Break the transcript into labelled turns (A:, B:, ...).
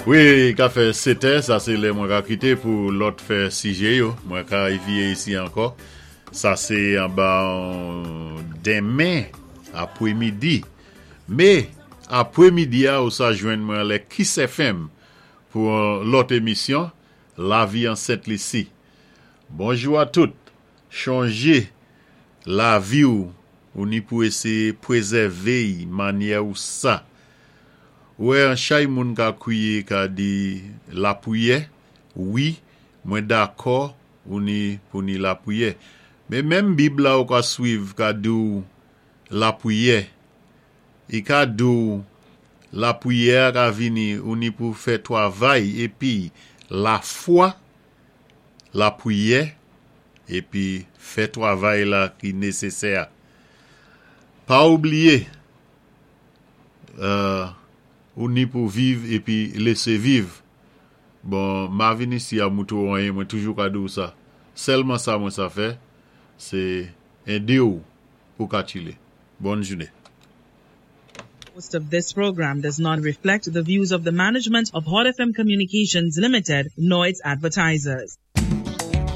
A: Wi, ka fè 7 è, sa sé lè mwen ka kité pou lòt fè sijé yo. Mwen ka évéyé isi ankò. Sa sé anba denmen apwémidi. Mé apwémidi a ou sa jwenn mwen anlè Kiss FM pou yon lòt émisyon Lavi an Sent Lisi. Bonjou a tout. Chonjé lavi ou ou ni pou éséyé pwézèvé y mannyè ou sa. Ou wè an chay moun ka kwiyé ka di lapwiyè, wi mwen dakò ou ni pou ni lapwiyè. Mé menm bib la ou ka swiv ka di w lapwiyè. I ka di w lapwiyè a ka vini ou ni pou fè twavay épi lafwa lapwiyè épi fè twavay la ki nésésè a. Pa oubliyé ou ni pou viv épi lésé viv. Bon, ma vin isi a moutré w anyen, mwen toujou ka di w sa. Sèlman sa mwen sa fè, sé édé w pou ka tchilé. Bòn jouné.
B: Host of this program does not reflect the views of the management of Hot FM Communications Limited nor its advertisers.